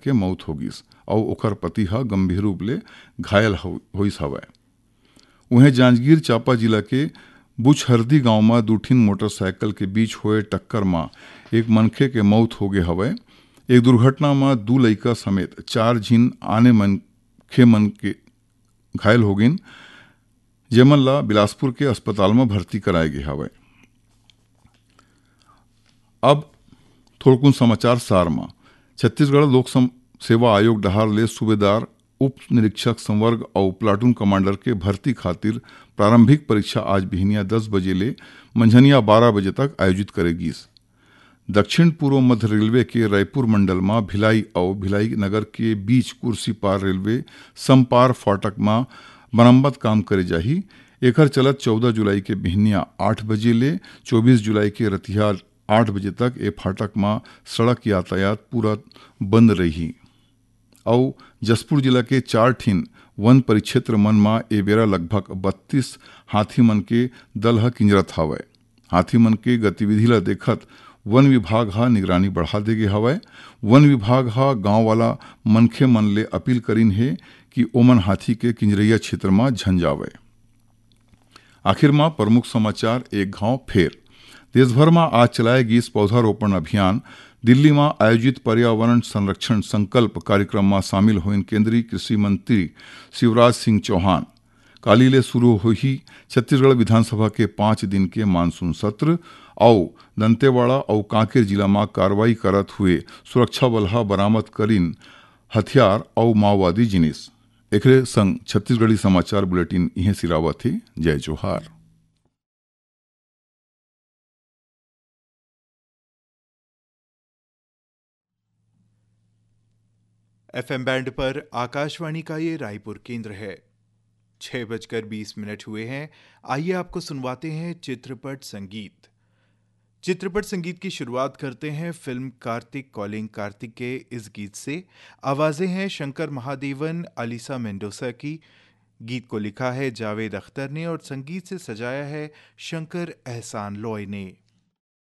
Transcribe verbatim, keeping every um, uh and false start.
के मौत हो गिस अउ ओकर पति ह गंभीर रूप ले घायल हो-, होइस हवय। उहें, जांजगीर चांपा जिला के बुचहरदी गांव म दू ठिन मोटरसाइकिल के बीच होए टक्कर म एक मनखे के मौत हो गे हवय। एक दुर्घटना म दू लइका समेत चार झिन आने मनखे मन के घायल हो गिन, जेमन ला बिलासपुर के अस्पताल म भर्ती कराए गे हवय। अब थोड़कुन समाचार सार म। छत्तीसगढ़ लोक सम-, सेवा आयोग डहार ले सूबेदार, उप निरीक्षक संवर्ग अउ प्लाटून कमांडर के भर्ती खातिर प्रारंभिक परीक्षा आज बिहनिया दस बजे ले मंझनिया बारह बजे तक आयोजित करे गिस। दक्षिण पूर्व मध्य रेलवे के रायपुर मंडल म भिलाई अउ भिलाई नगर के बीच कुर्सीपार रेलवे समपार फाटक म मरम्मत काम करे जाही। एखर चलत चौदह जुलाई के बिहनिया आठ बजे ले चौबीस जुलाई के रतिहा आठ बजे तक ए फाटक म सड़क यातायात पूरा बंद रही। अउ जशपुर जिला के चार ठिन वन परिक्षेत्र मन म ए बेरा लगभग बत्तीस हाथी मन के दल ह किंजरत हावय। हाथी मन के गतिविधि ल देखत वन विभाग ह निगरानी बढ़ा दे गे हवय। वन विभाग ह गांव वाला मनखे मन ले अपील करिन हे कि ओमन हाथी के किंजरइया क्षेत्र म झन जावय। आखिर म प्रमुख समाचार एक घाव फेर। देश भर म आज चलाए गिस पौधारोपण अभियान। दिल्ली म आयोजित पर्यावरण संरक्षण संकल्प कार्यक्रम म शामिल होइन केंद्रीय कृषि मंत्री शिवराज सिंह चौहान। काली ले शुरू होही छत्तीसगढ़ विधानसभा के पाँच दिन के मानसून सत्र, अउ दंतेवाड़ा अउ कांकेर जिला म कार्रवाई करत हुए सुरक्षा बल ह बरामद करिन हथियार अउ माओवादी जिनिस। एकरे संग छत्तीसगढ़ी समाचार बुलेटिन इहें सिरावत हे। जय जोहार। एफएम बैंड पर आकाशवाणी का ये रायपुर केंद्र है। छह बजकर बीस मिनट हुए हैं। आइए, आपको सुनवाते हैं चित्रपट संगीत। चित्रपट संगीत की शुरुआत करते हैं फिल्म कार्तिक कॉलिंग कार्तिक के इस गीत से। आवाज़ें हैं शंकर महादेवन, अलीसा मेंडोसा की। गीत को लिखा है जावेद अख्तर ने और संगीत से सजाया है शंकर एहसान लॉय ने।